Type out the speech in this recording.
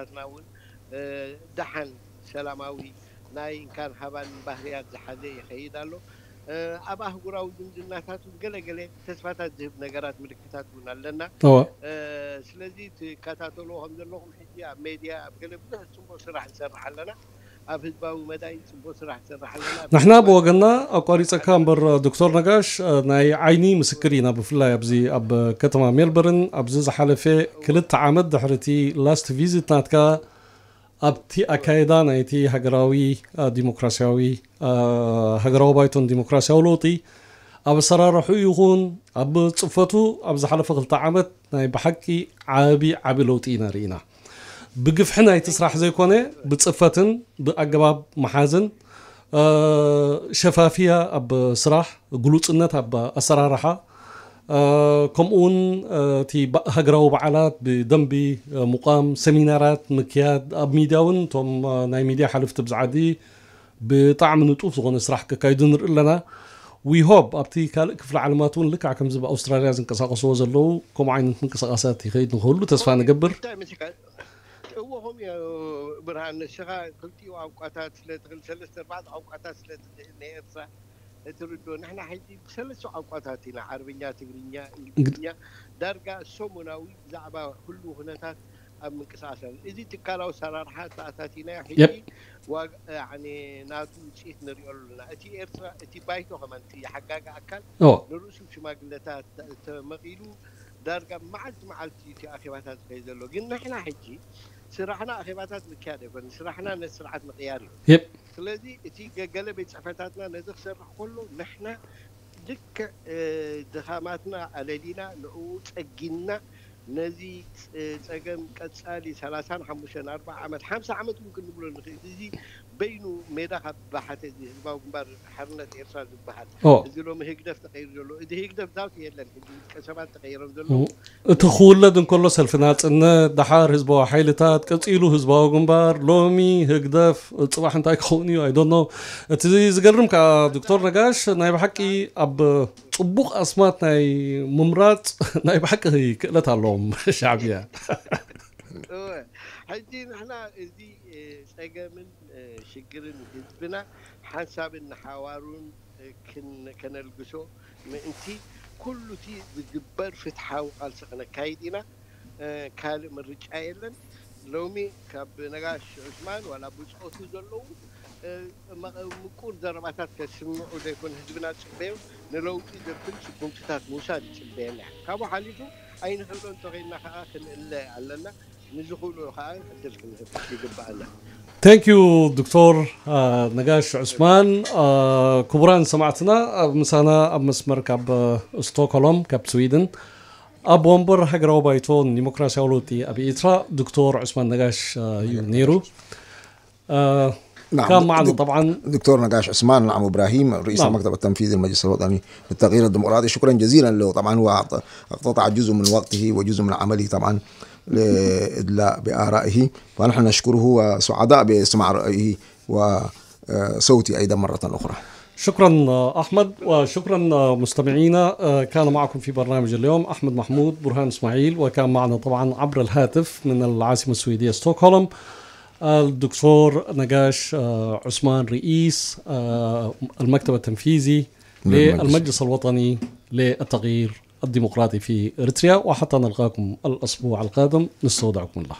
ናትና እውን ደሓን ሰላማዊ ናይ እንካን ሃባን ባህርያት ዝሓዘ ይኸይድ ኣሎ። ኣብ ኣህጉራዊ ዝምድናታት እውን ገለገለ ተስፋታት ዝህብ ነገራት፣ ምልክታት እውን ኣለና። ስለዚ ትከታተልዎ ከም ዘለኹም ሕጂ ኣብ ሜድያ ኣብ ገለ ብዙሕ ፅቡቅ ስራሕ ንሰርሕ ኣለና። ኣብ ህዝባዊ መዳይ ፅቡቅ ስራሕ ንሰርሕ ኣለና። ንሕና ብወገንና ኣቋሪፀካ እምበር ዶክተር ነጋሽ ናይ ዓይኒ ምስክር ኢና። ብፍላይ ኣብዚ ኣብ ከተማ ሜልበርን ኣብዚ ዝሓለፈ ክልተ ዓመት ድሕሪ እቲ ላስት ቪዚት ናትካ ኣብቲ ኣካይዳ ናይቲ ሃገራዊ ዲሞክራሲያዊ ሃገራዊ ባይቶን ዲሞክራሲያዊ ለውጢ ኣብ ኣሰራርሑ ይኹን ኣብ ፅፈቱ ኣብ ዝሓለፈ ክልተ ዓመት ናይ ብሓቂ ዓቢ ዓቢ ለውጢ ኢና ርኢና። ብግፍሒ ናይቲ ስራሕ ዘይኮነ ብፅፈትን ብኣገባብ መሓዝን ሸፋፍያ ኣብ ስራሕ፣ ግሉፅነት ኣብ ኣሰራርሓ፣ ከምኡ እውን እቲ ሃገራዊ በዓላት ብደንቢ ምቋም፣ ሰሚናራት ምክያድ፣ ኣብ ሚድያ እውን እቶም ናይ ሚድያ ሓለፍቲ ኣብዚ ዓዲ ብጣዕሚ ንጡፍ ዝኾነ ስራሕ ከካይዱ ንርኢ ኣለና። We hope ኣብቲ ካልእ ክፍለ ዓለማት እውን ልክዕ ከምዚ ኣብ ኣውስትራልያ ዝንቀሳቐስዎ ዘለዉ ከምኡ ዓይነት ምንቅስቃሳት ይኸይድ ንክህሉ ተስፋ ንገብር። እዎ ከምኡ እዩ። ብርሃን፣ ንስኻ ክልቲኡ ቋንቋታት ስለ ትኽእል፣ ሰለስተ ኣርባዕተ ቋንቋታት ስለ ትኽእል ናይ ኤርትራ እትርድኦ፣ ንሕና ሕጂ ብሰለስተ ቋንቋታት ኢና፣ ዓረብኛ፣ ትግርኛ፣ እንግሊዝኛ፣ ዳርጋ ሰሙናዊ ብዛዕባ ህሉው ኩነታት ኣብ ምንቅስቃስ ኣለና። እዚ ትካላዊ ኣሰራርሓ ተኣታቲናዮ ሕጂ ናቱ ውፅኢት ንሪኦ ኣለና። እቲ ኤርትራ፣ እቲ ባይቶ ከማን፣ እቲ ሓጋጊ ኣካል ንርእሱ ሽማግለታት ተመቒሉ ዳርጋ መዓልቲ መዓልቲ እቲ ኣኼባታት ዝኸይ ዘሎ። ግን ንሕና ሕጂ ስራሕና ኣኼባታት ምክያድ ኣይኮነን። ስራሕና ነቲ ስርዓት ምቕያር እዩ። ስለዚ እቲ ገገለ ቤት ጽሕፈታትና ነዚ ክሰርሕ ከሎ ንሕና ልክዕ ድኻማትና ኣለሊና ንኡ ጸጊንና ነዚ ጸገም ቀጻሊ ሰላሳን ሓሙሽተን ኣርባዓ ዓመት ሓምሳ ዓመት እውን ክንብሎ ንኽእል። እዚ በይኑ ሜዳ ካብ ባሓተ እዚ ህዝባዊ ግንባር ሓርነት ኤርትራ ዝበሃል እዚ ሎሚ ህግደፍ ተቐይሩ ዘሎ፣ እዚ ህግደፍ ዛውቲ የለን። ሕጂ ውልቀ ሰባት ተቐይሮም ዘለዉ። እቲ ክውለድ እንከሎ ሰልፊ ናጽነት፣ ደሓር ህዝባዊ ሓይልታት፣ ቀጺሉ ህዝባዊ ግንባር፣ ሎሚ ህግደፍ፣ ጽባሕ እንታይ ክኸውን እዩ? I don't know። እቲ ዝገርም ከኣ ዶክተር ነጋሽ ናይ ብሓቂ ኣብ ጽቡቕ ኣስማት ናይ ምምራጽ ናይ ብሓቂ ክእለት ኣለዎም ሻዕብያ። ሕጂ ንሕና እዚ ጸገምን ሽግርን ህዝብና ሓንሳብን ንሓዋሩን ከነልግሶ ምእንቲ ኩሉ እቲ ዝግበር ፍትሓዊ ቃልሲ ክነካይድ ኢና። ካልእ ምርጫ የለን። ሎሚ ካብ ነጋሽ ዑስማን ዋላ ብጾቱ ዘለዉ ምቁር ዘረባታት ከስምዑ ዘይኮነ ህዝብና ዝጽበዮ ንለውጢ ዘብል ስጉምትታት ምውሳድ ይጽበየና። ካብኡ ሓሊፉ ኣይንኽእሎ እንተኾይንና ከዓ ክንእለ ኣለና። ንዝኽእሉ ከዓ ዕድል ክንህብ ይግበኣና። Thank you ዶክተር ነጋሽ ዑስማን። ክቡራን ሰማዕትና፣ ኣብ ምሳና ኣብ መስመር ካብ ስቶክሆልም ካብ ስዊድን ኣብ ወንበር ሃገራዊ ባይቶ ንዲሞክራሲያዊ ለውጢ ኣብ ኤርትራ ዶክተር ዑስማን ነጋሽ እዩ ነይሩ። نعم، كان معنا طبعا دكتور نقاش عثمان، نعم، إبراهيم، رئيس نعم. المكتب التنفيذي للمجلس الوطني للتغيير الديمقراطي. شكرا جزيلا له. طبعا هو أعطى تعجزه من وقته وجزء من عمله طبعا لإدلاء بآرائه، فنحن نشكره وسعداء باستماع رأيه وصوته أيضا مرة أخرى. شكرا أحمد، وشكرا مستمعينا. كان معكم في برنامج اليوم أحمد محمود، برهان إسماعيل، وكان معنا طبعا عبر الهاتف من العاصمة السويدية ستوكهولم الدكتور نقاش عثمان، رئيس المكتب التنفيذي للمجلس الوطني للتغيير الديمقراطي في إريتريا. وحتى نلقاكم الأسبوع القادم، نستودعكم الله.